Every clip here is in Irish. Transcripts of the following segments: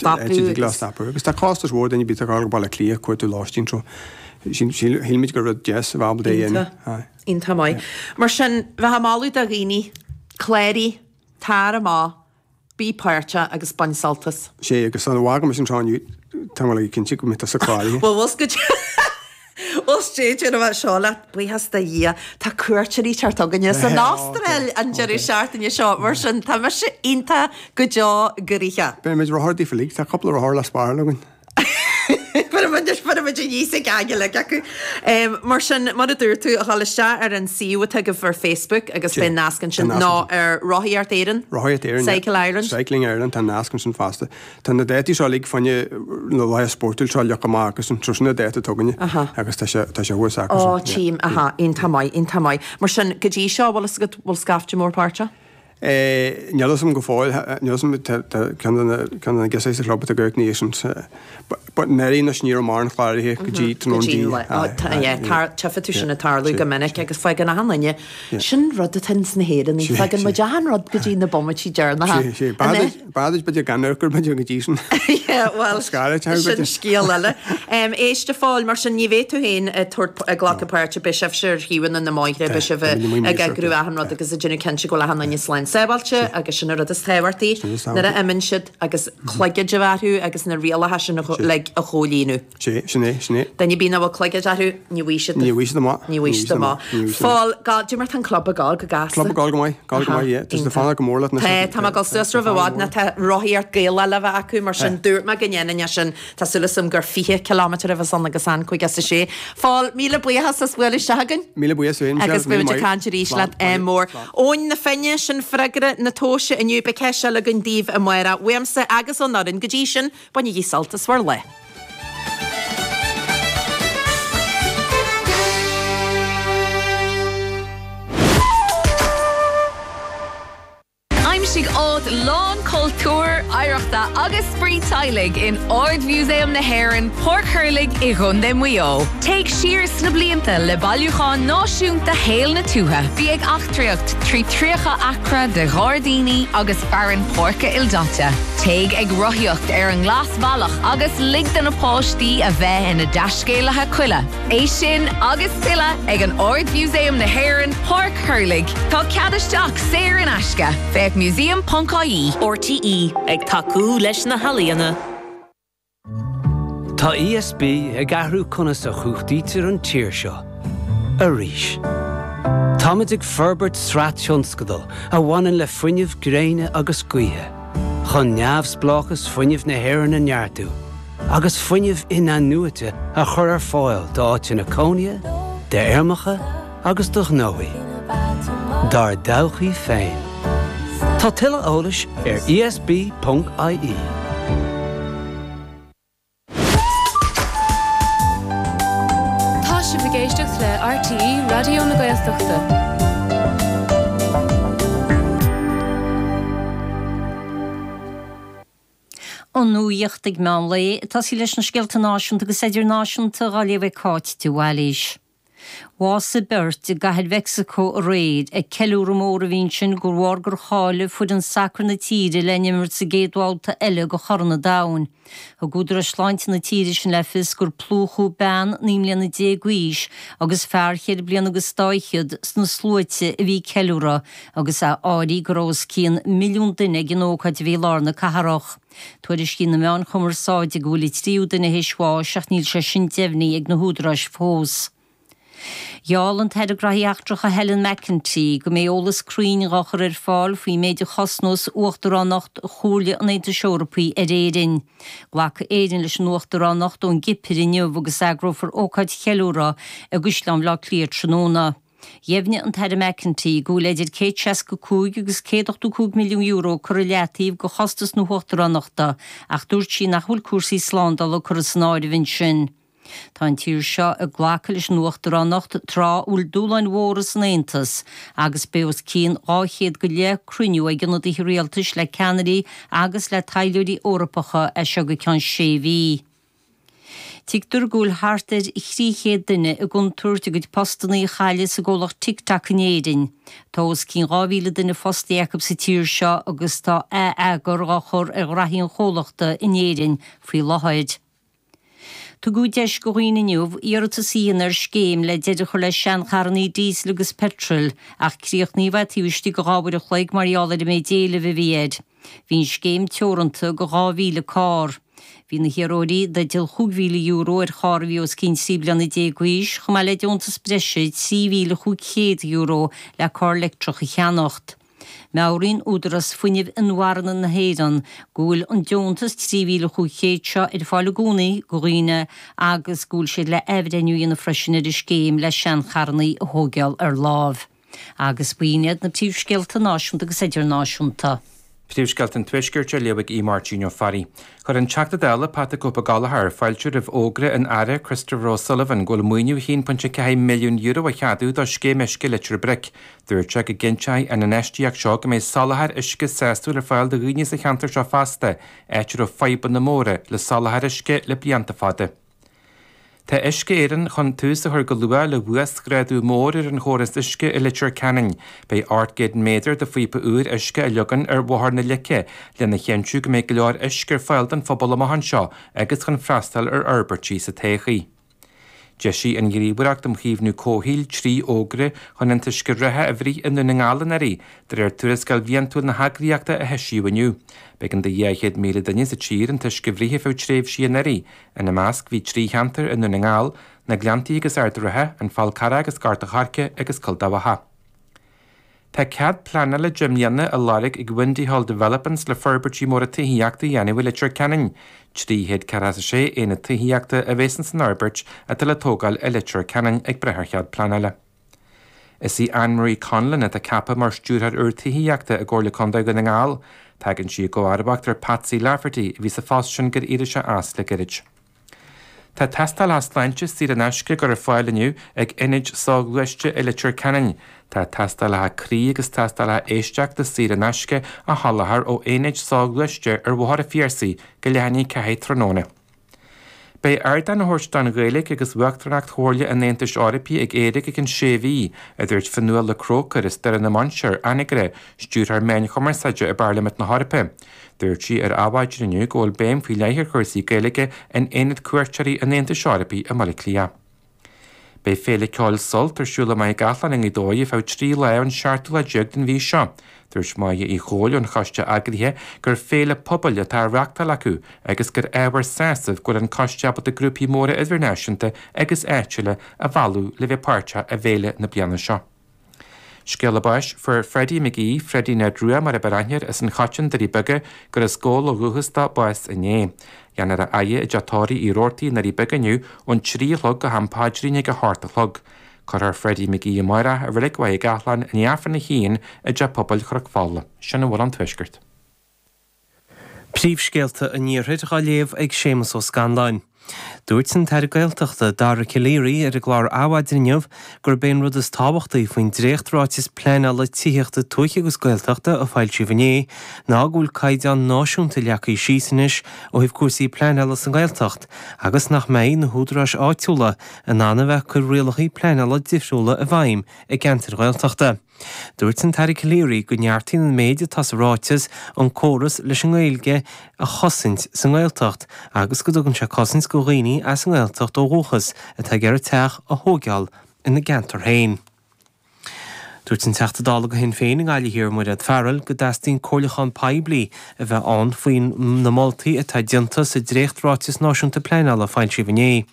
Áit a dtig leo stopadh. Agus tá costas mhór duine ar bith atá ag gabháil go Baile Átha Cliath ag cuartú lóistín so shíl muid gur rud deas a bheith ábalta é a dhéanamh. Iontach. Iontach maith. Mar sin, bheadh ag moladh do dhaoine, cláraigh, tar amach, bí páirteach agus bain sult as. Sé, agus dá bhfágaimis anseo inniu, tá mé cinnte go mbeidh tusa cláraithe. Bhuel, bhfuil Bhuel, déarfaidh mé seo leat, buíochas do Dhia, tá cuairteoirí ag teacht chugainne as an Astráil an deireadh seachtaine seo, mar sin tá mise iontach go deo gnoitheach. Beidh muid rothar daofa uilig, tá cúpla rothar le spáráil againn. Cuirfidh muid aníos ag an uilig acu. Mar sin, mar a dúirt tú, a dhul isteach ar an suíomh atá agaibh ar Facebook agus beidh nasc ansin, nó ar Rothaíocht Éireann? Rothaíocht Éireann, yeah. Cycle Ireland? Cycling Ireland, tá nasc ansin fosta. Tá na dátaí seo uilig fá choinne na laetha spórtúil seo leagtha amach agus so sin na dáta atá againne agus tá sé tá sé thuas acu. Ó tchím, aha, iontach maith, iontach maith. Mar sin, go dtí seo, bhfuil fhios agat, bhfuil scaifte mór páirteach? Eh, níl fhios agam go fóill, níl fhios agam, tá tá ceann de na ceann de na girseachaí sa chlub atá ag amharc ina dhiaidh sin, but i ndáiríre anois ní raibh mórán cláraithe go dtí tráthnóna Go dtí an lá, tá, yeah, tar, tchífidh tú sin ag tarlú go minic agus faigheann achan duine Sin rud atá ins na hÉireannaigh, fágann muid achan rud go dtí na bomaití deireanacha. Sé, sé. An ea? B'fhearr duit b'fhéidir gan amharc air b'fhéidir go dtí sin. Yeah, bhuel, sin scéal eile. Éist a Phóil, mar sin ní bheidh tú féin ag tabhairt, ag glacadh páirte, beidh sibhse ar thaobhanna na mbóithre, beidh sibh ag eagrú achan rud agus ag déanamh cinnte go bhfuil achan duine slán sábháilte agus sin an rud is tábhachtaí nuair a imíonn siad agus cloigid a bheith orthu agus na rialacha sin uilig a chomhlíonadh. Sé, sin é, sin é. Duine ar bith nach bhfuil cloigead orthu, ní bhfaighidh siad. Ní bhfaighidh siad amach. Ní bhfaighidh siad amach. Phóil, cad é mar tá an club ag gabháil go gasta. Club ag gabháil go maith, gabháil go maith, yeah. Tá siad ag fanacht go mór leat anois. Tá, tá mé ag dul suas roimh i bhfad ná tá rothaíocht Gaelach le bheith acu, mar sin dúirt mé go ndéanfainn é sin. Tá súil agam gur 20 kilometre a bheas ann agus an 56. Phóil, míle buíochas as bualadh isteach chugainn. Míle buíochas féin, Michelle. Agus beidh muid ag caint arís leat ádh mór. Eoin na Finne, sin freagra na tomhaise inniu. Beidh ceist eile againn daoibh amárach. Uaimse agus ón fhoireann go dtí sin, bainigí sult as bhur lá. Aimsigh áit lán cultúir, oidhreachta agus spraoi teaghlaigh in Ard-Mhúsaem na hÉireann, Páirc Thurlaigh i gContae Mhaigh Eo. Téigh siar sna blianta le bailiúchán náisiúnta shaol na tuaithe. Bí ag eachtraíocht trí 30 acra de ghairdíní agus fearann páirce ildaite. Téigh ag rothaíocht ar an nGlasbhealach agus lig do na páistí a bheith ina dtaiscéalaithe coille. É sin agus tuilleadh ag an Ard-Mhúsaem na hÉireann, Páirc Thurlaigh. Tá cead isteach saor in aisce. Féach museum.ie. RTÉ, ag tacú leis na healaíona. Tá ESB ag athrú conas a chumhachtaítear an tír seo. Arís. Táimid ag forbairt sraith tionscadal a bhaineann le fuinneamh gréine agus gaoithe, chun neamhspleáchas fuinnimh na hÉireann a neartú agus fuinneamh in-athnuaite a chur ar fáil d'áiteanna cónaithe, d'fheirmeacha agus do ghnóthaí. Dár dtodhchaí féin. Tá tuilleadh eolais ar esb.ie. Tá sibh ag éisteacht le RTÉ Raidió na Gaeltachta. An nuacht ag meán lae, ag tosaí leis na scéalta náisiúnta agus idirnáisiúnta dhá léamh ag Cáit de Bhailís. Bhásaigh beirt i gCathair Mheicsiceo aréir ag ceiliúradh mór a bhí ansin de bharr gur cháiligh foireann sacair na tíre le n-imirt sa gcéad bhabhta eile de Chorn an Domhain. Thug údaráis sláinte na tíre sin le fios gur plúchadh bean 19 mbliana d'aois agus fear cheithre bliana agus dá fhichead sna sluaite a bhí ag ceiliúradh agus é áirithe go raibh os cionn milliún duine ag an ócáid a bhí i lár na cathrach. Tuairiscíonn na meáin chumarsáide go bhfuil an tríú duine théis bháis ach níl sé sin deimhnithe ag na húdaráis fós. Gheall an tAire Graithí Eachtracha Helen McEntee go mbeidh eolas cruinn dhá chur ar fáil faoin méid a chosnós Uachtaránacht Chomhairle an Aontais Eorpaigh ar Éirinn. Glacfaidh Éirinn leis an Uachtaránacht ón gCipir inniu agus eagrófar ócáid cheiliúrtha i gCaisleán Bhaile Átha Cliath tráthnóna. Dheimhnigh an tAire McEntee go bhfuil idir 165 agus €185 milliún curtha i leataobh do chostas na huachtaránachta ach dúirt sí nach bhfuil cúrsaí slándála curtha san áireamh ansin. Tá an tír seo ag glacadh leis an uachtaránacht tráth a bhfuil dúshláin mhóra san Aontas agus beidh os cionn 200 go leith cruinniú ag ionadaithe rialtais le ceannairí agus le taidhleoirí Eorpacha as seo go ceann sé mhí. Tuigtear go bhfuil thart ar 300 duine i gcontúirt a gcuid postanna a chailleadh sa gcomhlacht TikTok in Éirinn. Tá os cionn 2,000 duine fostaithe acu sa tír seo agus tá ath-eagar á chur ar ghraithí an chomhlachta in Éirinn faoi láthair. Tugadh deis go dhaoine inniu iarratas a dhéanamh ar scéim le deireadh a chur le seancharrannaí díosail agus peitril ach críochnaíodh é taobh istigh de 2 uair a chloig mar gheall ar an méid éilimh a bhí air. Bhí an scéim teoranta go 2,000 carr. Bhí na hiarrthóirí i dteideal €5,000 ar charr a bhí os cionn 13 bliana d'aois chomh maith le deontas breise €3,500 le carr leictreach a cheannacht. Meabhraíonn Údarás Fuinnimh Inmharthana na hÉireann go bhfuil an deontas 3,500 seo ar fáil i gcónaí go dhaoine agus go bhfuil siad le athbhreithniú a dhéanamh freisin ar an scéim le seancharrannaí a thóigeáil ar láimh. Agus b'in iad na príomhscéalta náisiúnta agus idirnáisiúnta. Príomhscéalta an Tuaiscirt á léamh ag Aodh Máirtín Ó Fearraigh. Chuir an Teachta Dála Pat the Cope Gallagher fáilte roimh fhógra an Aire Christopher O'Sullivan go bhfuil maoiniú €1.4 milliún á cheadú do Scéim Uisce Leitir Bric. Dúirt sé go gcinnteoidh an infheistíocht seo go mbeidh soláthar uisce sásúil ar fáil do dhaoine sa cheantar seo feasta, áit a raibh fadhbanna móra le soláthar uisce le blianta fada. Tá Uisce Éireann chun tús a chur go luath le huasghrádú mór ar an chóras uisce i Leitir Ceanainn. Beidh 800 méadar de phíopa úr uisce á leagan ar Bhóthar na Leice lena chinntiú go mbeidh go leor uisce ar fáil don phobal amach anseo agus chun freastal ar fhorbairtí sa todhchaí. D'eisigh an Ghníomhaireacht um Chaomhnú Comhshaoil 3 fhógra chun an t-uisce reatha a bhruith i nDún na nGall anuraidh, de réir tuarascáil bhliantúil na heagraíochta a heisíodh inniu. B'éigean do 200,000 duine sa tír an t-uisce a bhruith ar feadh tréimhsí anuraidh, Ina measc bhí 3 cheantar i nDún na nGall, Na Gleanntaí agus Ard an Rátha, An Fál Carrach agus Gort an Choirce agus Cill Dhabhcha. Tá cead pleanála 10 mbliana á lorg ag Windy Hall Developments le forbairtí móra tithíochta a dhéanamh i Leitir Ceanainn. 346 aonad tithíochta a bheas ins an fhorbairt atá le tógáil i Leitir Ceanainn ag brath ar chead pleanála. Is í Anne Marie Conlon atá ceaptha mar Stiúrthóir úr Tithíochta i gComhairle Contae Dhún na nGall. Tagann sí i gcomharbacht ar Patsy Lafferty a bhí sa phost sin gur éirigh sé as le gairid. Tá tástálacha sláinte saor in aisce á gcur ar fáil inniu ag Ionaid Soghluaiste i Leitir Ceanainn. Tá tástálacha croí agus tástálacha éisteachta saor in aisce á sholáthar ó Aonaid Soghluaiste ar Bhóthar an Phiarsaigh go leath i ndiaidh 4 tráthnóna. Beidh ardán á thabhairt don Ghaeilge agus Uachtaránacht Chomhairle an Aontais Eorpaigh ag Éire go ceann sé mhí, a dúirt Fionnuala Croker as Doire na Mainsear, Anagaire, Stiúrthóir Meáin Chumarsáide i bParlaimint na hEorpa. Dúirt sí ar Adhmhaidin inniu go bhfuil béim faoi leith ar chúrsaí Gaeilge in Aonad Cuairteoirí an Aontais Eorpaigh i mBaile Átha Cliath. Beidh Féile Ceoil Sult ar siúl i Machaire Gathlán i nGaoth Dobhair ar feadh 3 lá ón seachtú lá déag den mhí seo. Dúirt Máire Uí Chomhaill ón choiste eagraithe gur féile pobail atá á reachtáil acu agus gur ábhar sásaimh go bhfuil an coiste ábalta grúpaí móra idirnáisiúnta agus áitiúla a mhealladh le bheith páirteach i bhféile na bliana seo. Scéala báis, Fuair Freddie McGee, Freddie Ned Rua mar a b'fhearr aithne air, as an Choiteann, Doirí Beaga, gur as Gabhal ó dhúchas dó, bás inné. Déanfar a fhaire i dteach tórraimh Uí Robhartaigh i nDoirí Beaga inniu ón 3 a chlog go ham paidrín ag a hocht a chlog. Cuirfear Freddie McGee amárach i Reilig Mhachaire Gathlán i ndiaidh Aifreann a haon i dTeach Pobail Chnoc Fola. Sin a bhfuil ón Tuaisceart. Príomhscéalta an Iarthair á léamh ag Séamus Ó Scanláin. Dúirt an tAire Gaeltachta, Dara Calleary ar an gclár Adhmhaidin inniu gurb é an rud is tábhachtaí faoin dréacht-ráiteas pleanála tithíochta tuaithe agus Gaeltachta a foilsíodh inné ná go bhfuil caighdeán náisiúnta leagtha síos anois ó thaobh cúrsaí pleanála sa nGaeltacht agus nach mbeidh na húdaráis áitiúla in ann a bheith ag cur rialacha pleanála difriúla i bhfeidhm i gceantair Ghaeltachta. Dúirt an tAire Calleary go neartaíonn an méid atá sa ráiteas an córas leis an nGaeilge a chosaint sa nGaeltacht agus go dtugann sé cosaint go dhaoine as an nGaeltacht ó dhúchas atá ag iarraidh teach a thóigeáil ina gceantar féin. Dúirt an Teachta Dála do Shinn Féin i nGaillimh Thiar, Mairéad Farrell, go dteastaíonn comhairliúchán poiblí a bheith ann faoi na moltaí atá déanta sa dréacht-Ráiteas Náisiúnta Pleanála a foilsíodh inné.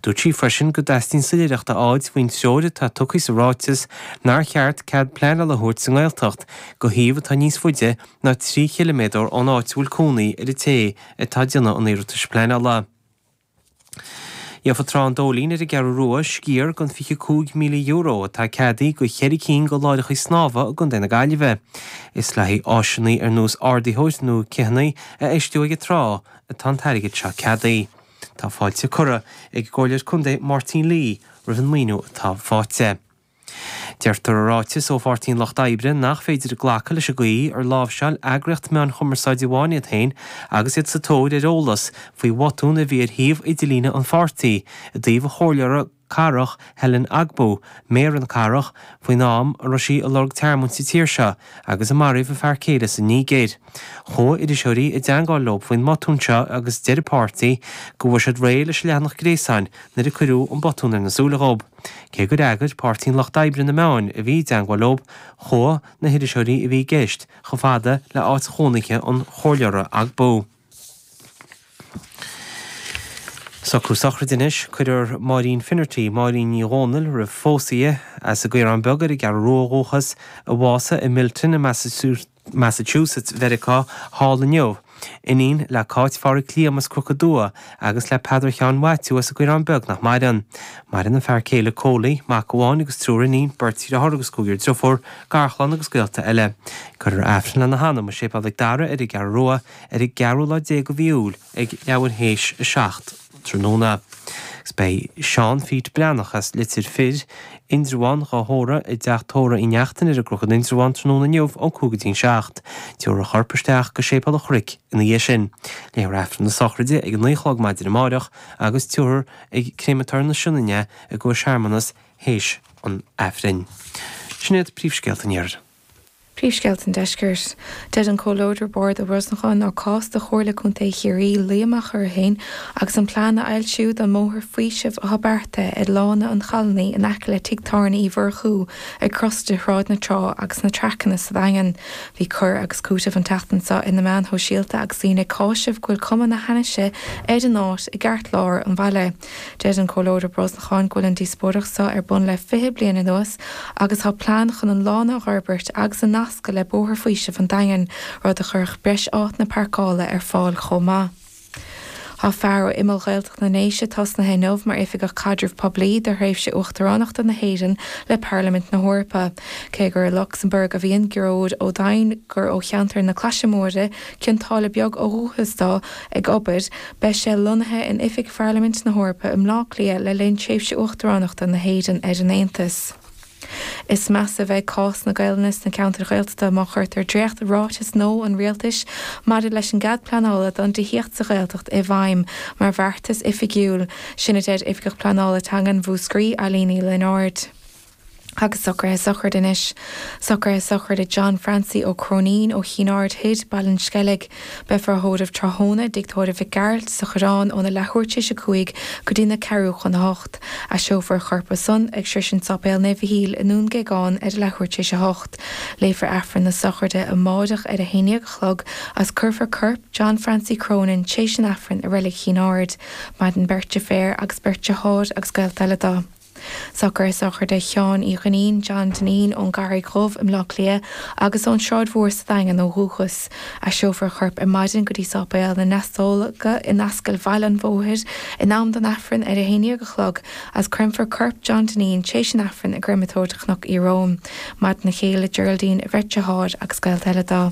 Dúirt sí freisin go dteastaíonn soiléireacht a fháilt faoin treoir atá tugtha sa ráiteas nár cheart cead pleanála a thabhairt sa nGaeltacht go shuíomh atá níos faide ná 3 chiliméadar ón áit a bhfuil cónaí ar an té atá ag déanamh an iarratais pleanála. Gheofa Trá an Dóilín ar an gCeathrú Rua sciar den €25,000 atá ceadaithe go cheithre cinn de láithreacha snámha i gContae na Gaillimhe. Is le haghaidh áiseanna ar nós ardaitheoir nó céanna a fheistiú ag an trá atá an t-airgead seo ceadaithe. Tá fáilte curtha ag an gComhairleoir Contae Máirtín Lee roimh an maoiniú atá faighte. Deirtear i ráiteas ó Pháirtí an Lucht Oibre nach féidir glacadh leis an gcaoi ar láimhseáil eagraíocht meáin chumarsáide amháin iad féin agus iad sa tóir ar eolas faoi bhotún a bhí ar shuíomh idirlíne an pháirtí i dtaobh a chomhairleora cathrach Helen Ogbu, méara na cathrach, faoin am a raibh sí ag lorg tearmainn sa tír seo agus a maraíodh a fear céile sa Nigéir. Chuaigh iriseoirí i dteangmháil leo faoin mbotún seo agus deir an páirtí go bhfuair siad réidh leis an leathanach gréasáin nuair a cuireadh an botún ar na súile dhób. Cé gur fhreagair Páirtí an Lucht Oibre na meáin a bhí i dteangmháil leo, chuaigh na hiriseoirí a bhí i gceist chomh fada le áit chónaithe an chomhairleora Ogbu. Socrú sochraide anois. Cuirfear Máirín Finnerty, Máirín Ní Dhomhnaill roimh phósadh í, as an gCaorán Beag ar an gCeathrú Rua ó dhúchas, a bhásaigh i Milton i Massachusetts Mheiriceá thall inniu. Iníon le Cáit Phádhraic Liam as Cnoc an Dua agus le Peadar Sheáin Mhaitiú as an gCaorán Beag nach maireann. Maireann a fear céile Cóilí, mac amháin agus triúr iníon, beirt dheartháir agus cúigear driofúr, garchlann agus gaolta eile. Cuirfear Aifreann lena hanam i Séipéal Mhic Dara ar an gCeathrú Rua ar an gceathrú lá déag de mhí Iúil ag leathuair théis a 7 tráthnóna. Agus beidh Seán Phete Breathnach as Leitir Fir, Indreabhán, dhá thórramh i dteach tórraimh Uí Neachtain ar an gCnoc in Indreabhán tráthnóna inniu ón 5 go dtí an 7. Tabharfar a chorp isteach go Séipéal an Chnoic ina dhiaidh sin. Léifear Aifreann na sochraide ag a 9 a chlog maidin amáireach agus tabharfar ag Créamatóir na Sionainne é i gcomhair searmanas théis an Aifrinn. Sin iad príomhscéalta an Iarthair. Príomhscéalta an Deiscirt. Deir an Comhleodar Bord ó Brosnacháin nár cás do Chomhairle Contae Chiarraí luí amach orthu féin agus an plean a fhoilsiú don mbóthar faoisimh atá beartaithe ar Lána an Challannaigh in aice le Tigh Tábhairne Uí Mhurchú ag crois de Shráid na Trá agus na Traiceanna sa Daingean. Bhí cur agus cúiteamh an tseachtain seo ar na meáin shóisialta agus daoine ag cáiseamh go bhfuil cuma na hainnise ar an áit i gceartlár an bhaile. Deir an Comhairleoir Ó Brosnacháin go bhfuil an díospóireacht seo ar bun le 20 bliain anuas agus tá plean chun an lána a fhorbairt agus a nascadh le Bóthar Faoisimh an Daingin, rud a chuirfeadh breis áiteanna páirceála ar fáil chomh maith. Tá fear ó imeall Ghaeltacht na nDéise tosnaithe inniu mar Oifigeach Caidrimh Poiblí do thréimhse Uachtaránachta na hÉireann le Parlaimint na hEorpa. Cé gur i Lucsamburg a bhíonn Gearóid Ó Daighneáin, gur ó cheantar na Claise Móire, Cionn tSáile Beag ó dhúchas dó, ag obair, Beidh sé lonnaithe in oifig Pharlaimint na hEorpa i mBleá Cliath le linn tréimhse uachtaránachta na hÉireann ar an Aontas. Is measa a bheidh cás na Gaelainne sna ceantair Ghaeltachta má chuirtear dréacht-ráiteas nua an Rialtais maidir leis an gcead pleanála don tithíocht sa Ghaeltacht i bhfeidhm mar bheartas oifigiúil. Sin a deir Oifigeach Pleanála Teangan Mhúscraí, Eileen Ní Lionáird. Agus socruithe sochraide anois. Socruithe sochraide John Francie Ó Cróinín ó Chinn Aird Thoir, Baile an Sceilg. Beifear á thórramh tráthnóna i dtigh tórraimh Mhic Gearailt sa Choireán óna leathuair tar éis a 5 go dtí na ceathrú chun a hocht. Eiseofar a chorp ansan ag sroisint Sáipéal Naomh Mhichíl i nDún Géagáin ar a leathuair tar éis a hocht. Léifear Aifreann na sochraide amáireach ar a haon déag a chlog agus cuirfear corp John Francie Cronin tar éis an Aifrinn i Reilig Chinn Aird. Maireann beirt deirféar agus beirt deartháir agus gaolta eile dó. Socruithe sochraide Sheáin Uí Dhuinnín, John Dineen, ón gCarraig Dhubh i mBleá Cliath agus ón Sráid Mhór sa Daingean ó dhúchas. Eiseofar a chorp ar maidin go dtí Sáipéal na nDeastóga in Ascaill Bhaile an Bhóthair in am don Aifreann ar a haon déag a chlog agus creimfear corp John Dineen tar éis an Aifrinn i gcreamatóir Chnoc Ieróm. Maireann a chéile Geraldine, a bheirt deartháir agus gaolta eile dó.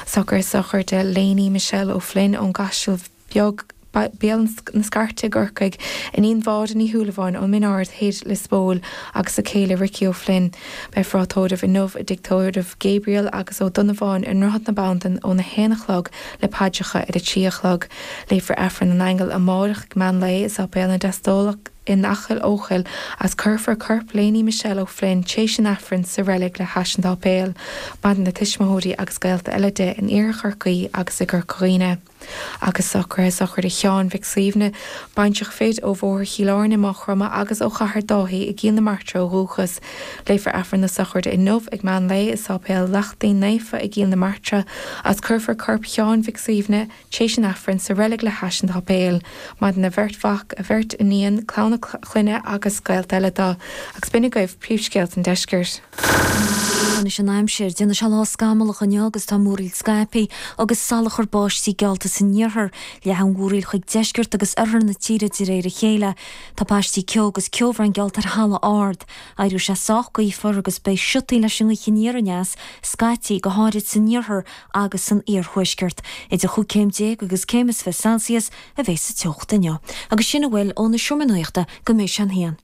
Socruithe sochraide Léiní Michelle O'Flynn ón gCaiseal Beag, Béal na Scairte i gCorcaigh, iníon Mháire Ní Shúilleabháin ón Min Ard Thoir, Lios Póil, agus a céile Ricky O'Flynn. Beifear á tórramh inniu i dtigh tórraimh Gabriel agus Ó Donnabháin i nDroichead na Bandan óna haon a chlog le paidreacha ar a trí a chlog. Léifear Aifreann na nAingeal amárach ag meán lae i Sáipéal na nDeastólac in Acaill Eochaill agus cuirfear corp Léiní Michelle O'Flynn tar éis an Aifrinn sa reilig le hais an tsáipéil. Maireann a tuismitheoirí agus gaolta eile di in Iarthar Chorcaí agus i gCorca Dhuibhne. Agus socruithe sochraide Sheáin Mhic Suibhne, baintreach fir ó Bhóthar Chill Airne i Maigh Chromtha agus ó Chathair Dáithí i gCill na Martra ó dhúchas. Léifear Aifreann na sochraide inniu ag meán lae i Sáipéal Lachtaín Naofa i gCill na Martra agus cuirfear corp Sheáin Mhic Suibhne tar éis an Aifrinn sa reilig le hais an tsáipéil. Maireann a bheirt mhac, a bheirt iníon, clann a clainne agus gaolta eile dó. Agus b'in agaibh príomhscéalta an deiscirt. Anois an aimsir. Déanfaidh sé lá scamallach inniu agus tá múraíl scaipthe agus salachar báistí geallta san iarthar. Leathfaidh an mhúraíl chuig deisceart agus oirthear na tíre de réir a chéile. Tá paistí ceo agus ceobhrán geallta ar thalamh ard. Éireoidh sé sách gaofar agus beidh siotaí leis an ngaoth aniar aneas scaití, go háirid san iarthar agus san iarthuaisceart. Idir chúig céim déag agus céim is 20 Celsius a bheidh sa teocht inniu. Agus sin a bhfuil ó na Seomra Nuachta go mbeidh sé an haon.